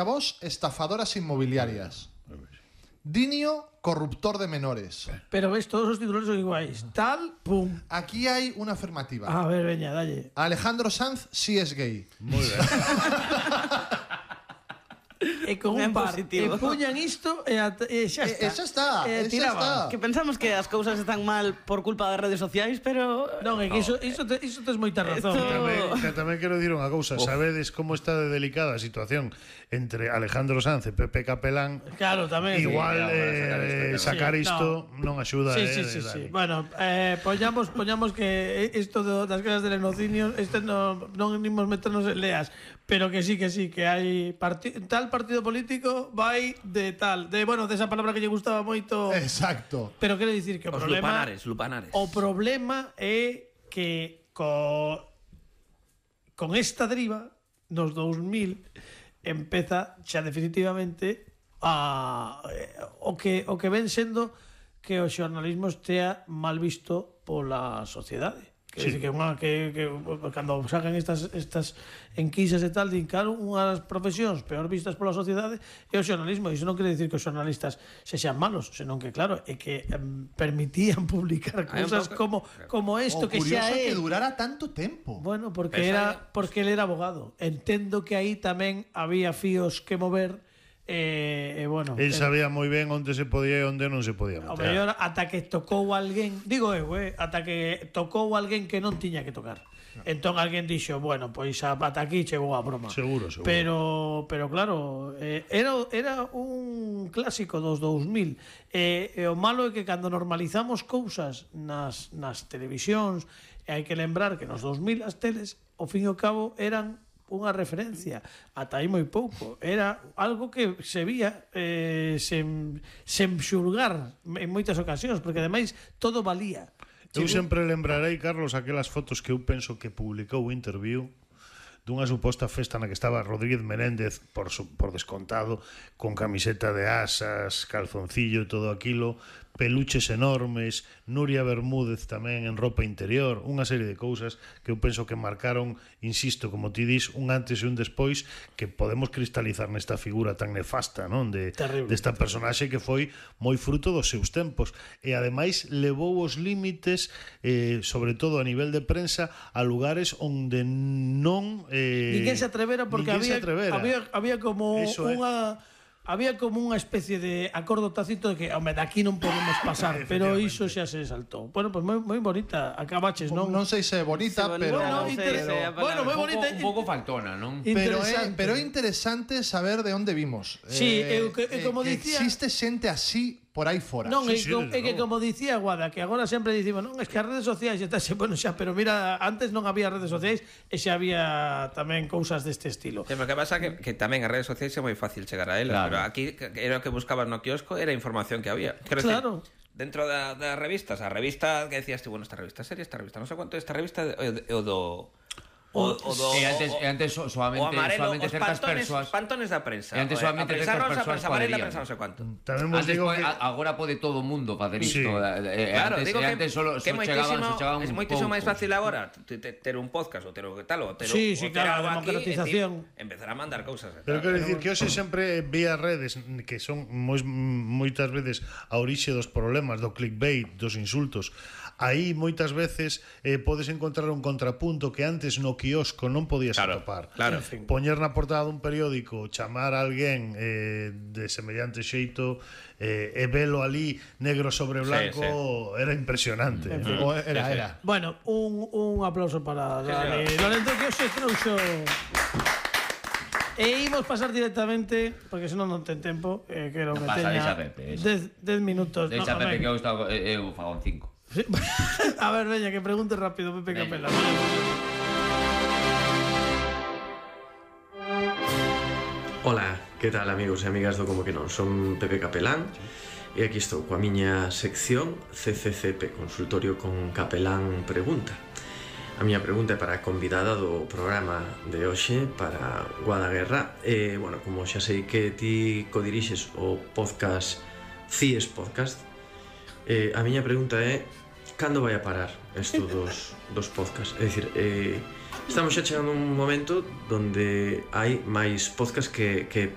Vos, estafadoras inmobiliarias. Dinio, corruptor de menores. Pero ves, todos os títulos son iguais. Tal, pum. Aquí hai unha afirmativa. A ver, veña, dalle. Alejandro Sanz sí es gay. Moi ben. E con un par, e puñan isto e xa está. Esa está, esa está. Que pensamos que as cousas están mal por culpa das redes sociais, pero... Non, é que iso tes moita razón. Tamén quero dicir unha cousa. Sabedes como está de delicada a situación entre Alejandro Sanz e Pepe Capelán? Claro, tamén. Igual sacar isto non axuda. Sí. Bueno, poñamos que isto das casas de lenocinios non imos meternos en leas, pero que sí, que hai tal partido político vai de tal, de esa palabra que lle gustaba moito. Exacto. Pero quero dicir que o problema Lupanares. O problema é que con esta deriva nos 2000 empeza xa definitivamente o que ven sendo que o xornalismo estea mal visto pola sociedade. Quer dizer, que cando sacan estas enquisas e tal, din, claro, unhas profesións peor vistas pola sociedade é o xornalismo. Iso non quere dicir que os xornalistas sexan malos, senón que, claro, é que permitían publicar cousas como isto, que xa é... que durara tanto tempo. Bueno, porque ele era abogado. Entendo que aí tamén había fíos que mover. El sabía moi ben onde se podía e onde non se podía meter. O mellor ata que tocou alguén, digo eu, ata que tocou alguén que non tiña que tocar. Entón alguén dixo, bueno, pois ata aquí chegou a broma. Seguro. Pero claro, era un clásico dos 2000. E o malo é que cando normalizamos cousas nas televisións, e hai que lembrar que nos 2000 as teles, ao fin e ao cabo, eran unha referencia, ata aí moi pouco, era algo que se vía sen xulgar en moitas ocasións, porque ademais todo valía. Eu sempre lembrarei, Carlos, aquelas fotos que eu penso que publicou o Interview dunha suposta festa na que estaba Rodríguez Menéndez, por descontado, con camiseta de asas, calzoncillo e todo aquilo, peluches enormes, Nuria Bermúdez tamén en ropa interior, unha serie de cousas que eu penso que marcaron, insisto, como ti dis, un antes e un despois, que podemos cristalizar nesta figura tan nefasta, non, desta personaxe que foi moi fruto dos seus tempos, e ademais levou os límites, sobre todo a nivel de prensa, a lugares onde non ninguén se atrevera, porque había como unha... Había como unha especie de acordo tácito de que, home, daqui non podemos pasar, pero iso xa se saltou. Bueno, pues moi bonita, acabaches, non? Non sei se é bonita, pero... Bueno, moi bonita. Un pouco faltona, non? Pero é interesante saber de onde vimos. Sí, como dicía... Existe xente así por aí fora. Non, é que como dicía Guada, que agora sempre dicimos, non, es que as redes sociais bueno, xa, pero mira, antes non había redes sociais e xa había tamén cousas deste estilo. Sí, pero que pasa que tamén as redes sociais é moi fácil chegar a elas, claro. Pero aquí era o que buscabas no quiosco, era a información que había. Claro. Dentro das revistas, a revista que decías tú, bueno, esta revista seria, esta revista, non sei quanto, esta revista o do... antes solamente certas persoas, pantones da prensa. E antes solamente certas persoas, prensa amarela, prensa non sei quanto. Agora pode todo o mundo facer isto. Claro, digo que chegaban é moitísimo máis fácil agora ter un podcast ou ter o tal, ou ter claro, a democratización, empezar a mandar cousas. Pero quero dicir que hoxe sempre vía redes que son moitas veces a orixe dos problemas, do clickbait, dos insultos. Aí moitas veces podes encontrar un contrapunto que antes no quiosco non podías atopar. Claro. Poñer na portada dun periódico, chamar a alguén de semellante xeito e velo ali negro sobre blanco, era impresionante. Era. Bueno, un aplauso para Dani Lorenzo, que hoxe trouxo... E imos pasar directamente, porque senón non ten tempo, quero que teña 10 minutos. Deixa Pepe, que eu fago 5. A ver, veña, que pregunte rápido, Pepe Capelán. Hola, que tal, amigos e amigas do Como que non? Son Pepe Capelán e aquí estou coa miña sección CCCP, Consultorio con Capelán Pregunta. A miña pregunta é para a convidada do programa de hoxe, para Guada Guerra. Bueno, como xa sei que ti codirixes o podcast CIES Podcast, a miña pregunta é: cando vai a parar isto dos podcasts? É dicir, estamos xa chegando a un momento donde hai máis podcasts que